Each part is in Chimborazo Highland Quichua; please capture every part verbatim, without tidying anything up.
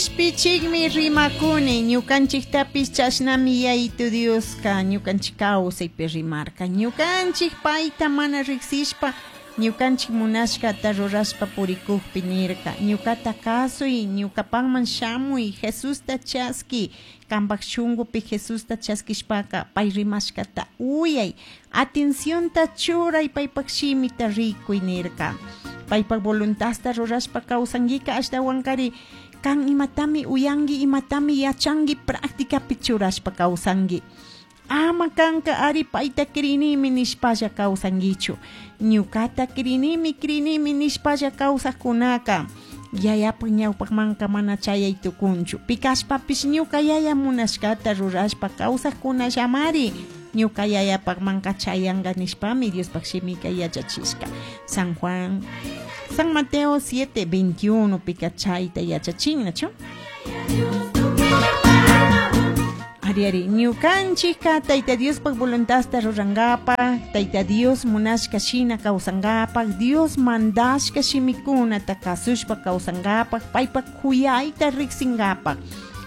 Kishpichikmi rimakuni, ñukanchiktapish chashnami Yayitu Dioska ñukanchik kawsaypi rimarka. Ñukanchik payta mana riksishpa ñukanchik munashkata rurashpa purikukpi nirka. Ñukata kasuy, ñukapakman shamuy, Jesusta chaski, kampak shunkupi Jesusta chaskishpaka pay rimashkata uyay, atencionta churay paypak shimita rikuy nirka. Paypak voluntadta rurashpa kawsankika ashtawankari kan imatami uyanki, imatami yachanki, practicapi churashpa kawsanki. Ama kanka ari payta crinimi nishpalla kawsankichu. Ñukata crinimi, crinimi nishpalla kawsakkunaka yayapak ñawpakmanka mana chayay tukunchu. Pikashpapish ñuka yaya munashkata rurashpa kawsakkunallamari ñuka yayapakmanka chayanka nishpami Diospak shimika yachachishka. San Juan, San Mateo siete veintiuno pika chayta yachachin, nachu? Ari ari, ñukanchikka Tayta Diospak voluntadta rurankapak, Tayta Dios munashka shina kawsankapak, Dios mandashka shimikunata kasushpa kawsankapak, paypak kuyayta riksinkapak,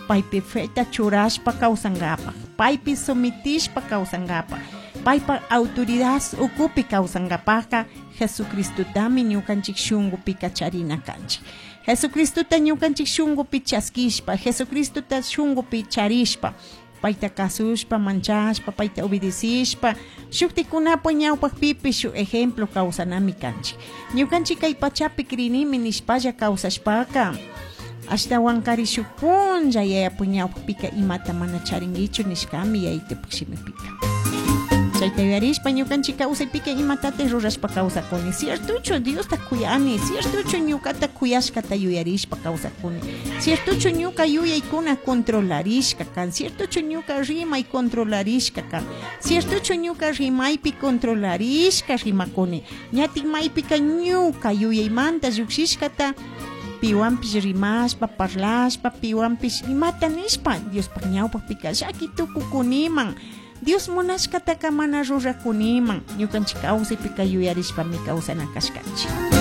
paypi feta churashpa kawsankapak, paypi sometishpa kawsankapak, paypak autoridad ukupi kawsankapakka Jesucristotami ñukanchik shunkupi charina kanchik. Jesucristota ñukanchik shunkupi chaskishpa, Jesucristota shunkupi charishpa, payta kasushpa, manchashpa, payta obedecishpa, shuktikunapa ñawpakpipish shuk ejemplo kawsanami kanchik. Ñukanchik kay pachapi crinimi nishpalla kawsashpaka, ashtawankari shuk punlla yayapu ñawpakpika imata mana charinkichu nishkami yayitupak shimipika. Chayta yuyarishpa ñukanchik kawsaypika imatataq rurashpa kawsakuni. Ciertuchu Diosta kuyani, ciertuchu ñukata kuyashkata yuyarishpa kawsakuni, ciertuchu ñuka yuyaykuna controlarishka kan, ciertuchu ñuka rimay controlarishka kan, ciertuchu ñuka rimaypi controlarishka rimakuni, ñatik maypika ñuka yuyaymanta llukshishkata piwanpish rimashpa, parlashpa, piwanpish imata nishpa Diospaj ñawpakpika llaki tukukuniman. Dios munashkataka mana rurakuniman, ñukanchik kawsaypika yuyarishpami kawsana kashkanchik.